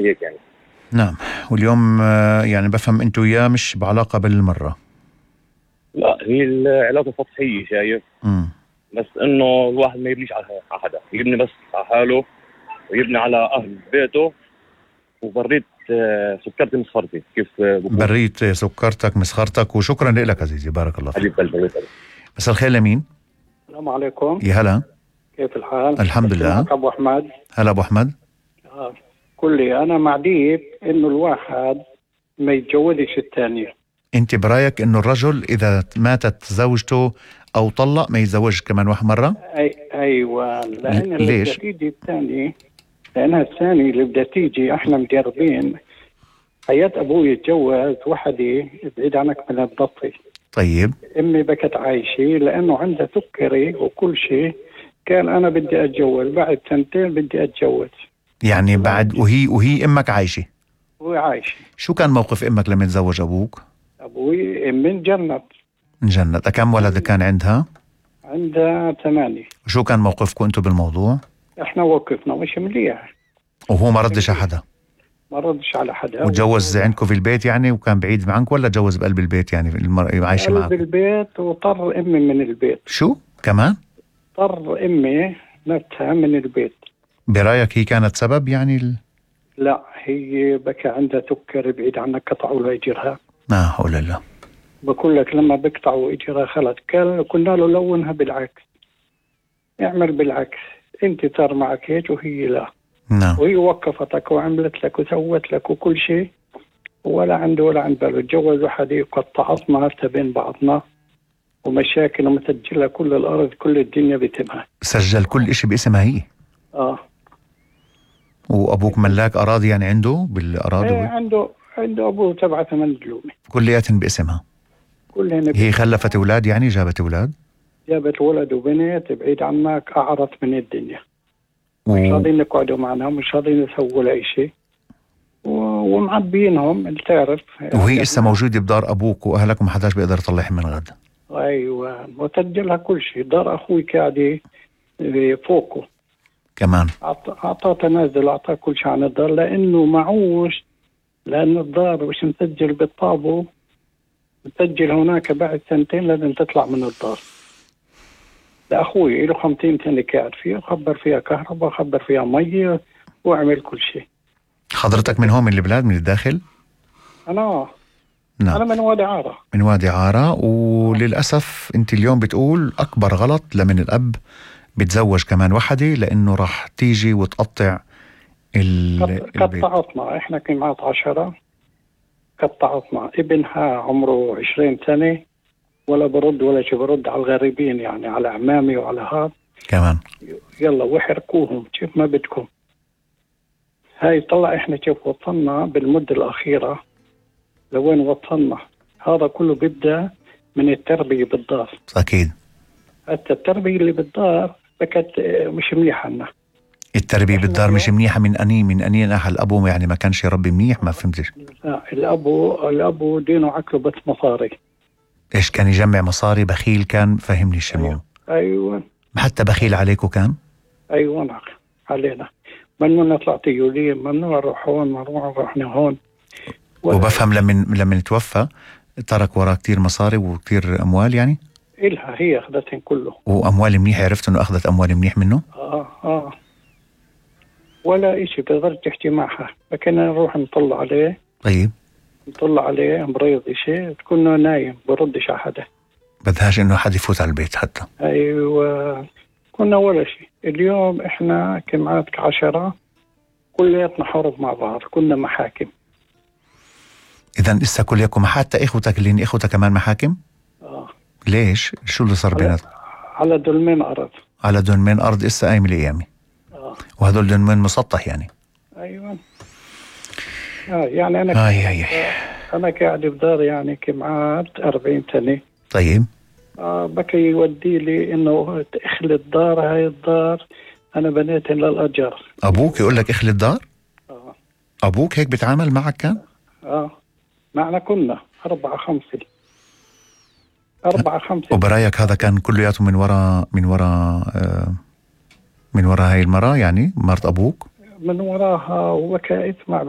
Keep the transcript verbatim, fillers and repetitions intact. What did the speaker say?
شيء هيك يعني. نعم. واليوم يعني بفهم انتو وياه مش بعلاقة بالمرة. لا هي العلاقة سطحية شايف. امم بس انه الواحد ما يبنيش على حدا، يبني بس على حاله ويبني على اهل بيته. وبريت سكرتي مسخرتي كيف بقول. بريت سكرتك مسخرتك. وشكرا لك عزيزي، بارك الله فيك. مساء الخير لمين؟ السلام عليكم. يا هلا، كيف الحال؟ الحمد لله. ابو احمد. هلا ابو احمد. آه. كلي انا مع ديب انه الواحد ما يتجوزش الثاني. انت برايك انه الرجل اذا ماتت زوجته او طلق ما يتزوجش كمان واحد مره؟ أي ايوه، لان اللي ليش؟ بدها تيجي الثاني، لانها الثاني اللي بدها تيجي احنا مجربين. حياة ابوي يتجوز وحده بعيد عنك من الضفي. طيب. امي بكت عايشه لانه عندها سكري وكل شيء. كان انا بدي اتجوز، بعد سنتين بدي اتجوز. يعني بعد وهي وهي امك عايشه؟ وهي عايشه. شو كان موقف امك لما تزوج ابوك؟ ابوي من جنت. انجنت. كم ولد كان عندها؟ عندها ثمانية. شو كان موقفكم انتم بالموضوع؟ احنا وقفنا مش مليح. وهو ما ردش على حدا؟ ما ردش على حدا. وتجوز عندكم في البيت يعني وكان بعيد عنك، ولا تجوز بقلب البيت يعني المر... عايشه معك؟ بقلب البيت، وطر امي من البيت. شو كمان؟ طر امي نفسها من البيت. برايك هي كانت سبب يعني ال... لا هي بكى عندها سكر بعيد عنك، قطعوا لها اجرها. لا حول الله. بقول لك لما بيقطعوا اجرها خلص، كان كنا له لونها بالعكس. اعمل بالعكس، انت صار معك هيك وهي لا. نعم. وهي وقفتك وعملت لك وسوت لك وكل شيء، ولا عنده ولا عند باله. تجوز وحده وقطعتنا هسه بين بعضنا ومشاكل ومسجلها كل الارض، كل الدنيا بتمها. سجل كل اشي باسمها هي؟ اه. وابوك ملاك اراضي يعني عنده بالاراضي؟ ايه عنده عنده ابوه تبع ثمان دلومه كلياتهم باسمها؟ كلهن. هي خلفت اولاد يعني؟ جابت اولاد؟ جابت ولد وبنت بعيد عنك، اعرض من الدنيا. و... مش راضيين يقعدوا معنا، مش راضيين يسووا لأي شيء، و... ومعبينهم تعرف. وهي لسه موجوده بدار ابوك واهلك وما حداش بيقدر يطلعها من غد؟ ايوه، وسجلها كل شيء. دار اخوي قاعده فوقه كمان. اعطاه تنازل، اعطاه كل شيء عن الدار لانه معوش. لانه الدار مش مسجل بالطابو، مسجل هناك. بعد سنتين لازم تطلع من الدار. لأخوي له خمسين سنة قاعد فيها، خبر فيها كهرباء، خبر فيها مية، وعمل كل شيء. حضرتك من هون من البلاد من الداخل؟ أنا نعم. أنا من وادي عارة. من وادي عارة. وللأسف أنت اليوم بتقول أكبر غلط لمن الأب بتزوج كمان وحدة، لأنه راح تيجي وتقطع ال... قطعتنا. إحنا كنا عشرة، قطعتنا. ابنها عمره عشرين سنة ولا برد ولا شي، برد على الغريبين يعني، على عمامي وعلى هذا كمان. يلا وحركوهم كيف ما بدكم. هاي طلع احنا كيف وصلنا بالمدة الأخيرة لوين وصلنا. هذا كله بيبدأ من التربية بالدار. أكيد. حتى التربية اللي بالدار بكت مش منيحة لنا. التربية بالدار مش منيحة من أني من أني ناحية الأبو يعني ما كانش يربي منيح؟ ما فهمتش. لا الأبو الأبو دينه عقله بس مصاري. إيش كان يجمع مصاري؟ بخيل كان؟ فهمني الشموم. أيوة. أيوة. حتى بخيل عليكم كان؟ أيوة نعم علينا. ممنوع نطلع تيولين، ممنوع نروح هون، ممنوع نروح هون. وبفهم لمن لمن توفى ترك وراه كتير مصاري وكتير أموال يعني؟ إلها هي أخذتهم كله. وأموال منيح؟ عرفت إنه أخذت أموال منيح منه؟ آه آه ولا إشي بتقدر تحكي معها. فكنا نروح نطلع عليه. طيب. نطلع عليه مريض إشي، تكون نايم بردش على حدا، بدهاش إنه حد يفوت على البيت حتى. أيوة. كنا ولا شيء. اليوم إحنا كمعات كعشرة كلياتنا حرب مع بعض، كنا محاكم. إذن إسا كليكم حتى إخوتك اللي إخوتك كمان محاكم؟ آه. ليش؟ شو اللي صار بينات؟ على دولمين أرض. على دولمين أرض إسا قايم الأيامي. آه. وهدول دولمين مسطح يعني؟ أيوة. آه يعني أنا آي آي آي. أنا قاعد بدار يعني كمعات أربعين سنة. طيب. آه بكي يودي لي إنه اخلي الدار، هاي الدار أنا بنيتها للأجر. أبوك يقول لك اخلي الدار؟ آه. أبوك هيك بيتعامل معك كان؟ آه معنا كنا أربعة خمسة أربعة خمسة. وبرايك هذا كان كلياته من وراء من وراء آه من وراء هاي المرأة يعني مرت أبوك؟ من وراها. وبكى اسمع